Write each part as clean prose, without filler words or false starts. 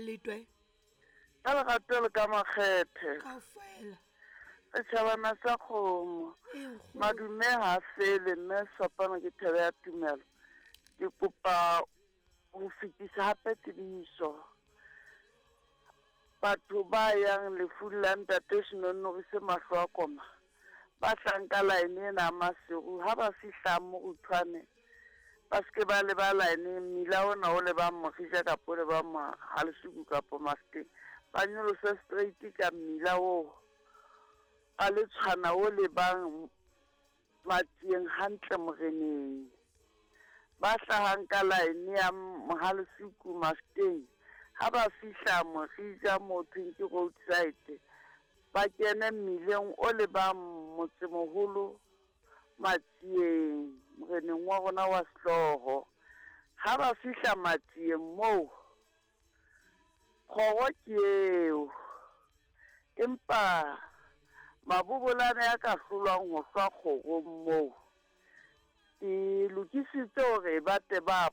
Letwe. Ka lerato le ka makgethe. Kaofela. Setšhabana sa kgomo. Ee, nkgono. Madume ha a fele mme sefapano ke thebe ya tumelo. Ke kopa ho fetisa hape tsebiso. Batho ba yang lefung la ntate Senonorise mahlo a koma ba tlang ka line ena ya Maseru ha ba fihla Moruthwane ba se ke ba leba line mmila ona o lebang Morija kapa o lebang Halesuku kapa Mafeteng ba nyolose straight ka mmila oo ba le tshwana o lebang Matsieng hantle moreneng. Ba hlahang ka line ya Mohalesuku Mafeteng ha ba fihla Morija moo thweng ke roadside ba kene mmileng o lebang motsemoholo Matsieng moreneng wa rona wa sehlooho. Ha ba fihla Matsieng moo Kgoro ke eo. Empa mabobolane a ka hlolwang ho hlwa kgorong moo, ke lokisitse hore ba tle ba,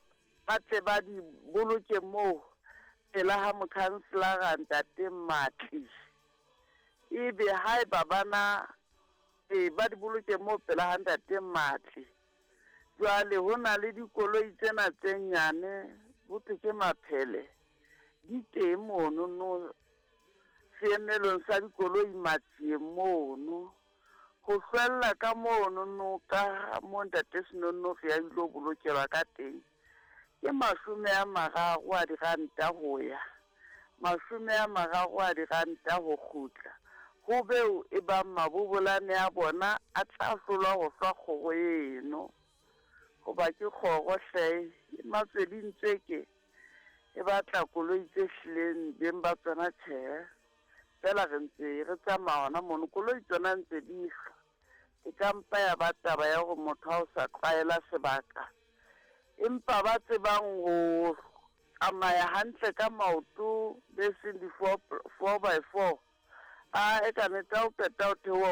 ba tle ba di boloke moo pela ha mokhanselara Ntate Matli. Ebe haeba ba na, ee, ba di boloke moo pela ha Ntate Matli. Jwale ho na le dikoloi tsena tse nyane, ho thwe ke maphele, di teng mono no seemelong sa dikoloi Matsieng mono. Ho hlwella ka mono no ka mo Ntate Senonogi a ilo bolokelwa ka teng, ke 30 a diranta ho ya, 30 a diranta ho kgutla. Ho beo e bang mabobolane a bona a tla hlolwa ho hlwa kgoro eno. Hoba ke kgoro hle, e matswedintsweke, e batla koloi tse hlileng beng ba tsona tjhe. Feela re ntse re tsamaya hona mono, koloi tsona ntse di hlwa. E ka mpa ya ba taba ya hore motho ha o sa tlwaela sebaka. Empa ba tsebang ho tsamaya hantle ka maoto be seng di four, four by four, a e ka nete ha o qeta ho theoha.